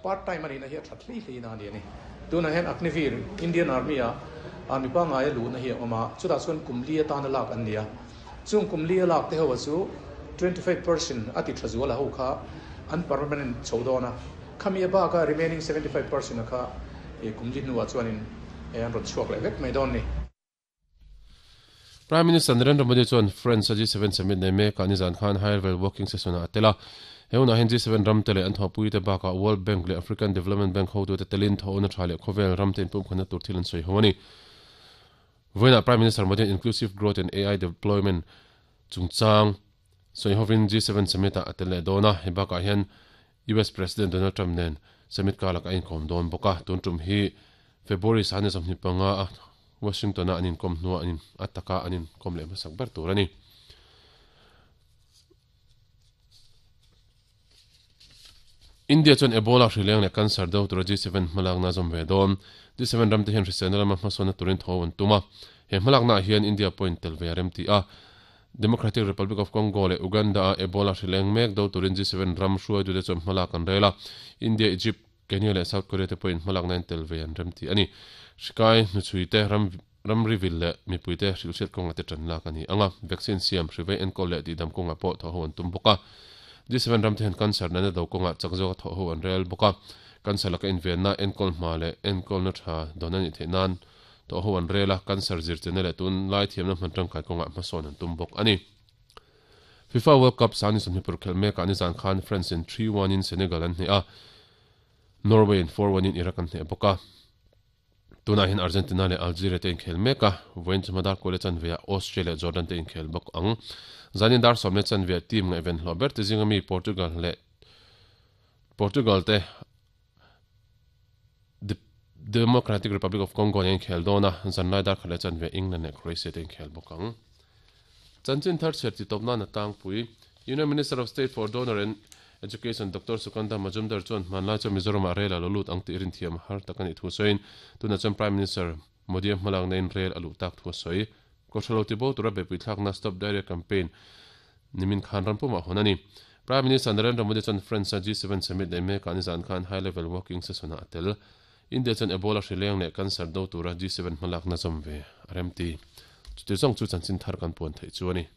Part time a nihna hi a that hlei hlei na a ni a ni. Tunah hian Agniveer, Indian Army ah army pangngai a luhna hi a awm a, chutah chuan kum li atana lak an ni a. Chung kum li a lak te ho a chu 25% a ti tha zual a ho kha an permanent chho dawn a, khami a bak a remaining 75% a kha kum li hnuah chuanin an rawn chhuak leh vek mai dawn a ni. Prime Minister Narendra Modi chuan France a G7 summit nei mekah nizan khan high level working session ah a tel a. He hunah hian G7 ramte leh an thawhpuite bakah World Bank leh African Development Bank hotute telin thawhna tha leh khawvel ramte inpumkhatna tur thil an sawi ho a ni. Vawiinah Prime Minister Modi-a'n Inclusive Growth and AI Deployment chungchang sawi hovin G7 summit ah a tel leh dawn a. Hei bakah hian US President Donald Trump nen summit karlak a inkawm dawn bawk a. Tun tum hi February sahni 25 a Washington-a an inkawm hnuah an in a taka an inkawm leh hmasak ber tur a ni. India chuan Ebola hrileng leh cancer do tura G7 hmalakna a zawm ve dawn. G7 ramte hian hriselna lama hmasawnna turin tho an tum a. He hmalaknaah hian India pawhin tel ve a rem ti a. Democratic Republic of Congo leh Uganda-a Ebola hrileng mek do turin G7 ram hruaitute chuan hmalak an rel a. India, Egypt, Kenya leh South Korea te pawhin hmalakna in tel ve an rem ti a ni. Hrikai, hnuchhuite, ram ramri vil leh mipuite hrilhhriat kawngah te tan lak a ni ang a, vaccine siam, hrivei enkawl leh tihdam kawngah pawh thawhho an tum bawk a. G7 ramte hian cancer natna do kawngah chak zawka thawhho an rel bawk a, cancer laka invenna, enkawl hma leh enkawlna tha dawn a nih theih nan thawhho an rel a, cancer zirchena leh tunlai thiamna hman tangkai kawngah hmasawn an tum bawk a ni. FIFA World Cup sani sawmhnih paruk khelh mekah nizan khan France in 3-1 in Senegal an hneh a, Norway in 4-1 in Iraq an hneh bawk a. Tunah hian Argentina leh Algeria te inkhel mek a, vawiin chu hma dar kual leh chanveah Austria leh Jordan te inkhel bawk ang. Zanin dar sawm leh chanveah team ngaihven hlawh ber te zinga mi Portugal leh Portugal te Democratic Republic of Congo nen inkhel dawn a, zanlai dar khat leh chanve England leh Croatia te inkhel bawk ang. Chanchin thar chhiar titawp nan a tlangpui. Union Minister of State for Donor and Education Doctor Sukanta Majumdar chuan hmanlai chuan Mizoramah rel a lo lut ang tih rinthiam har tak a nih thu sawiin tunah chuan Prime Minister Modi-a hmalakna in rel a luh tak thu a sawi. Kawhhran lo tibo tura beihpui thlakna Stop Diarrhea Campaign Nimin khan ram pumah hawn a ni. Prime Minister Narendra Modi chuan France-a G7 summit nei mekah nizan khan high level working session-ah a tel. India chuan Ebola hrileng leh cancer do tura G7 hmalakna zawm ve a remti. Chuti zawng chu chanchin thar kan puan theih chu a ni.